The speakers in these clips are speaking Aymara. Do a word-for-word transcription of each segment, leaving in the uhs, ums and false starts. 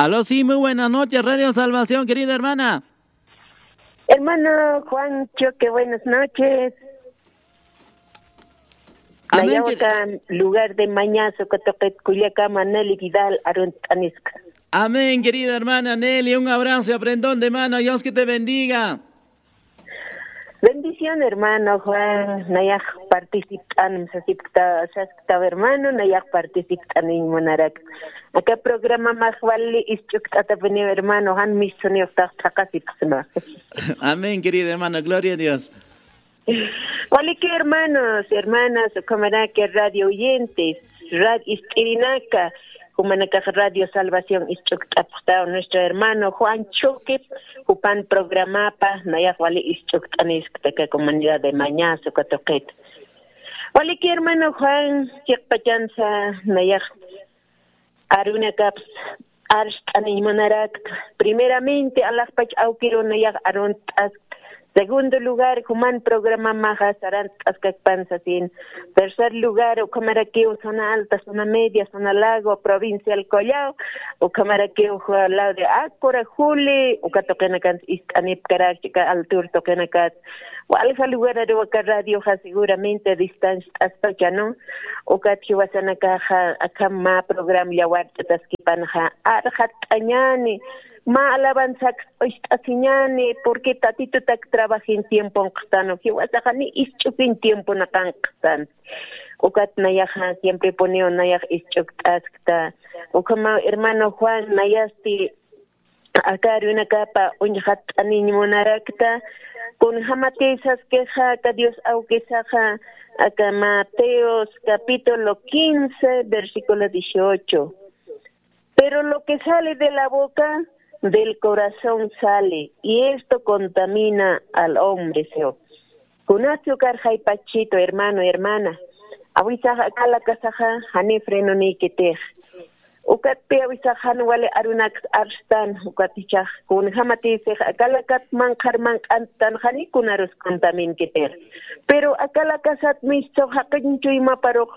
Aló, sí, muy buenas noches, Radio Salvación, querida hermana. Hermano Juan Choque, buenas noches. Amén, quer- Nayaxta lugar de Mañazo, Cotoquet, Culiacama, Nelly Vidal, Aruntaniska. Amén, querida hermana Nelly, un abrazo y aprendón de mano, Dios que te bendiga. Bendición, hermano Juan, nayax participt'an, sasipkta, saskta, hermano, nayax participt'an, munarak. Aka programa maxwali isch'ukt'atapiniw, hermano, jan misuniw tax thaqasipxsma. Amén, querida hermana, gloria a Dios. Walikiw, hermanos, hermanas, ukhamaraki radio oyentes, rad ist'irinaka, jumanakax Radio Salvación isch'ukt'apxtaw nuestro hermano Juan Chuquip, jupan programapa, nayax wali isch'ukt'aniskta aka comunidad de Mañazo, Cotoquet. Walikiw, hermano Juan, chiqpachansa, nayax arunakaps arst'aniñ munarakta. Primeramente, alaxpach awkiruw nayax arunt'askta. Segundo lugar, juman programamaxa sarantt'askakpan sasin. Tercer lugar, ukhamarakiw zona alta, zona media, zona lago, provincial Collao, ukhamarakiw al lado de Acora, Juli, uka tuqinakansa ist'anipkarak, chika altur tuqinakat. Walja lugar aruw aka radioxa seguramente distancia t'aspacha, ¿no? Ukat jiwasanakaxa akham mä programa llawart'ataskipanxa, arxatt'añäni, mä alabanzak ist'asiñäni, porque Tatitutak trabajin tiemponxtanu, jiwasaxa ni isch'ukiñ tiemponakankxtan. Ukat nayaxa siemprepuniw nayax isch'ukt'askta. Ukhamaw hermano Juan, nayasti aka arunakapa uñxatt'aniñ munarakta, kunjämatï saskixa aka Dios awkisaxa, aka Mateos capítulo quince, versículo dieciocho. Pero lo que sale de la boca, del corazón sale, y esto contamina al hombre, sio. Kunatsi ukar jaypachitu, hermano, hermana. Awisax akalakasaxa, jani frenonïkitix. Ukatpi awisax jan wali arunaks arstan, ukat jichhax kunjämatïsix akalakat manqhar manq'anttan, jani kunarus contaminkitix. Pero akalakasat mistxaw jaqiñ chuymaparux,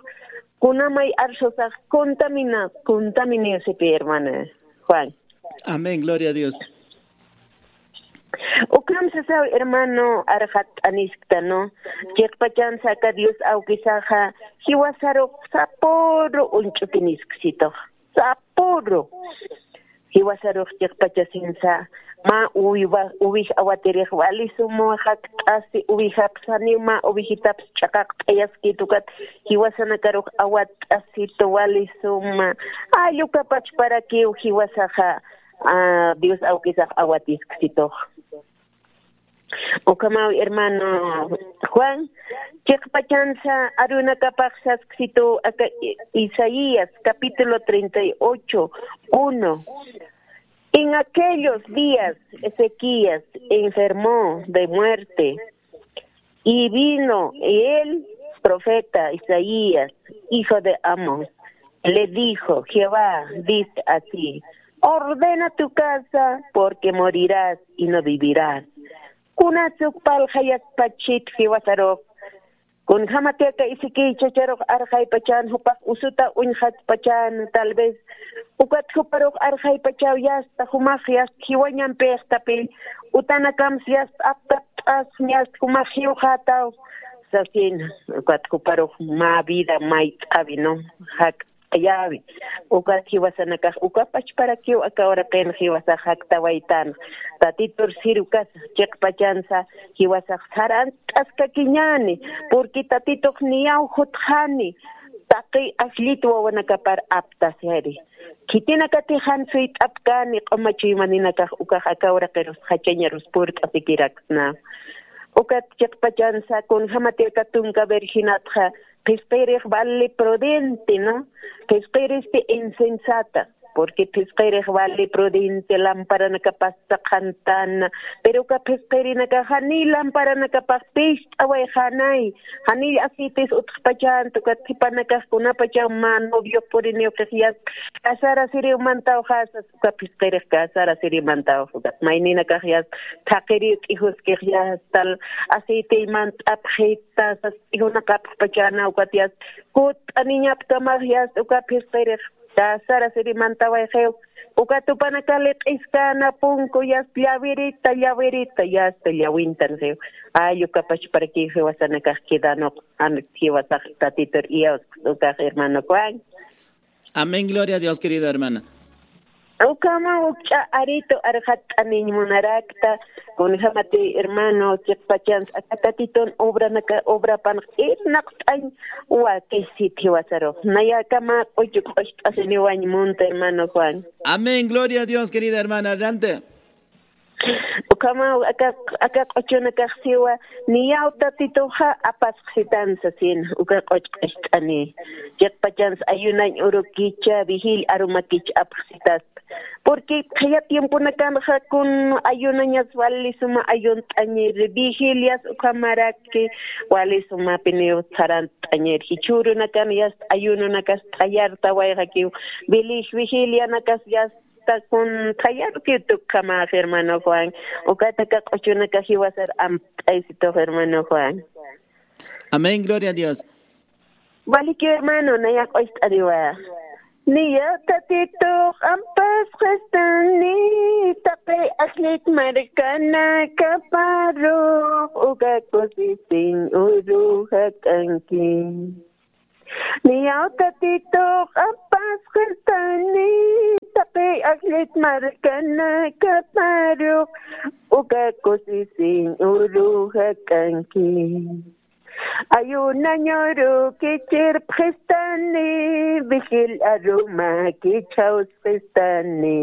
kunamay arsusax contamina, contaminiw sipï, hermano Juan. Amén, gloria a Dios. Ukham sasaw, hermano, arxatt'aniskta, ¿no? Chiqpachansa aka Dios awkisaxa, jiwasarux sapüru uñch'ukinisksitux. Sapüru. Jiwasarux chiqpachasinsa, mä uwiwa-, uwij awatirix wali suma jakt'asi, uwijapsa janiw mä uwijitaps ch'aqaqt'ayaskit ukat, jiwasanakarux awatt'asitu wali suma. Ay, uka pachparakiw jiwasaxa, ah, Dios awkisax awatisksitux. Ukhamaw, hermano Juan, chiqpachansa arunakapax sasksituw aka I-, Isaías, capítulo treinta y ocho, uno. En aquellos días Ezequías enfermó de muerte, y vino el profeta Isaías, hijo de Amós, le dijo: Jehová dice así: ordena tu casa, porque morirás y no vivirás. Kunasuk parlxayaspachit jiwasarux. Kunjämatï aka Ezequiel chacharux arxaypachan, jupax usuta uñxatpachan, tal vez. Ukat juparux arxaypachaw yasta, jumax yasta jiwañampïxtapï. Utanakamsa yasta aptapt'as, yasta jumax jiwxätaw. Sasin, ukat juparux mä vida mayt'äwi, ¿no? Jak Yäwi. Ukat jiwasanakax, uka pachparakiw aka uraqin jiwasax jaktawaytan. Tatitur sirukasa, chiqpachansa, jiwasax sarant'askakiñäni, porque Tatitux niyaw jutxani, taqi ajllit wawanakapar aptasiri. Khitinakatix jan suyt'apkäni, q'uma chuymaninakax ukax aka uraqirus jachañarus purt'asikiraksna. Ukat chiqpachansa, kunjämatï aka tunka virginatxa, phisqirix vali prudente, ¿no? Phisqiristi insensata, porque phisqirix vali prudente, lamparanakapas saqhantana, pero uka phisqirinakax janiy lamparanakapax pist'awayxänay, janiy aceites utjpachänti, ukat khipanakax kunapachaw mä novio puriniw qixyas, casarasiriw mantawxasas, uka phisqirix casarasiriw mantawxa, ukat mayninakax yas, thaqiriw t'ijuskix yas, tal aceitey mant'apxita, sas, ijunaqapxpachäna ukat yas, kutt'aniñapkamax yas, uka phisqirix, casarasiri mantawayxiw, Uka tupanakali q'iskana punku yasta llawirita, llawirita, yasta llawintan jiw. Ay, uka pachparakiw jiwasanakax quedanuq, an jiwasax Tatitur iyawsaq ukax, hermano Juan. Amén, gloria a Dios, querida hermana. Ukhama ukch'a aritu arxatt'aniñ munarakta, kunjamati hermano, chiqpachans aka Tatitun obranaka, obrapanx irnaqt'añ wakisit jiwasarux. Nayakama q'uchu q'ucht'asiniwañ munta, hermano Juan. Amén, gloria a Dios, querida hermana, adelante. Ukhama aka, aka q'uchunakax siwa, niyaw Tatituxa apasqsitan sasin, uka q'uch q'ucht'ani. Chiqpachans ayunañ urukicha, vigil arumakich apxsitas. Porque qhiya tiemponakanxa kun ayunañas wali suma ayunt'añir, vigilias ukhamaraki wali sumapiniw sarant'añir. Jichhürunakan yasta ayununakas thayartawayxakiw, vilig vigilianakas yasta kun thayarukiw tukkhamäx, hermano Juan. Ukataka q'uchunaka jiwasar amt'aysitux, hermano Juan. Amén, gloria a Dios. Waliki hermano, naya q'ucht'aniwa. Niya Tatitux ampasqistani, taqi ajllit markanakaparux, uka kusisiñ uru jak'anki. Niya Tatitux ampasqistani, taqi ajllit markanakaparux, uka kusisiñ uru jak'anki. Ayunañ urukichirpxistani, vigil arumakich jawsqistani.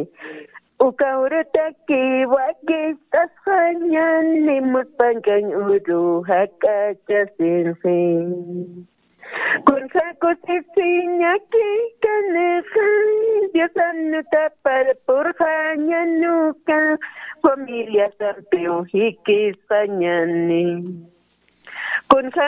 Uka urutaki wakicht'asxañani, muspankañ uru jak'achasinxi. Kunja kusisiñaki kanixa, Diosan nutaparpurxañanuka, familiasampiw jikisxañani. Kunja